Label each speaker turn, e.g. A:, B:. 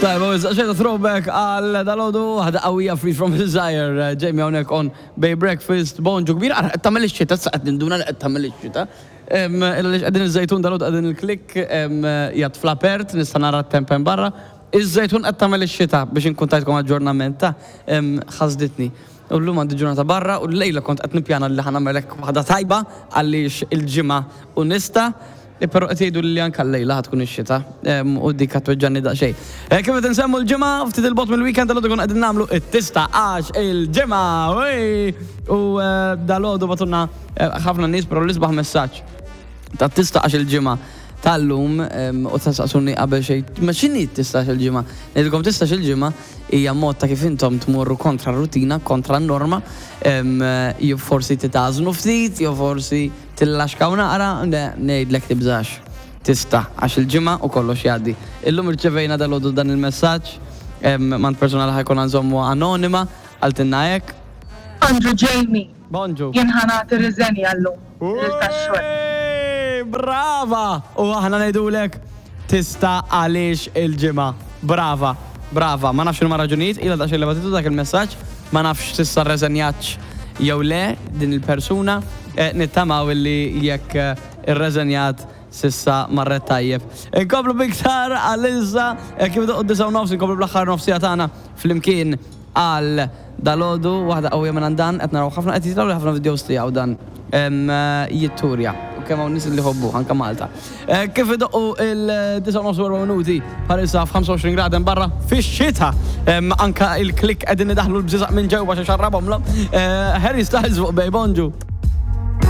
A: Tajba, issa xejta throwback għal dalodu, waħda qawwija Free From Desire, Jamie hawnhekk on Bay Breakfast, bonġu kbir, ara qed tagħmel ix-xita, issa qed ninduna li qed tagħmel ix-xita. Għaliex qegħdin iż-Żejtun dalodu qegħdin il-klikk qiegħed fl-apert, nista' nara t-temp hemm barra. Iż-Żejtun qed tagħmel ix-xita biex inkun tajtkom aġġornament ta' ħasditni. U llum għandi ġurnata barra u llejla kont qed nippjana li ħa nagħmel hekk waħda tajba għaliex il-Ġimgħa u nista', però qed jgħidu li anke llejla ħa tkun ix-xita u dik ħa tweġġagħni daqsxejn. Kif qed insemmu l-Ġimgħa, ftit 'il bogħod mill-weekend dalgħodu konna qegħdin nagħmlu t-tista' għax il-Ġimgħa! Ui! U dalgħodu bagħtulna ħafna nies però l-isbaħ messaġġ tat-tista' għax il-Ġimgħa tal-lum u tistaqsuni qabel xejn, ma x'inhi t-tista' għax il-Ġimgħa? Ngħidilkom tista' għax il-Ġimgħa hija mod ta' kif intom tmorru kontra r-rutina, kontra n-norma, jew forsi titgħażnu ftit, jew forsi tillaxkaw naqra, le, ngħidlek tibżax. Tista' għax il-ġimgħa u kollox jgħaddi. Illum irċevejna dalgħodu dan il-messaġġ m'għand persuna li ħa jkollna nżommuha anonima, qaltilna hekk.
B: Bonġu Jamie.
A: Bonġu.
B: Jien ħa nagħti riżenja llum lil tax-xogħol.
A: Brava! U aħna ngħidulek tista' għaliex il-ġimgħa. Brava. Brava. Ma nafx x'inhuma r-raġunijiet, ilha daqsxejn li bagħtitu dak il-messaġġ, ma nafx s'issa rreżenjatx jew le din il-persuna. Nittamaw illi jekk irreżenjat s'issa marret tajjeb. Inkomplu b'iktar għalissa, kif idoqqu d-disgħa u nofs inkomplu bl-aħħar nofs siegħa tagħna flimkien għal dalgħodu, waħda qawwija minn għand Dan, qed naraw ħafna qed jitilgħuli ħafna videos tiegħu dan jitturja u kemm hawn nies li jħobbuh anke Malta. Kif idoqqu il-disgħa u nofs u erba' minuti bħalissa f'25 grad hemm barra fix-xita. Anke il-klikk qegħdin idaħħlu l-bżieżaq minn ġewwa xi xarrabhomlhom. Harry Styles fuq Bay Bonġu.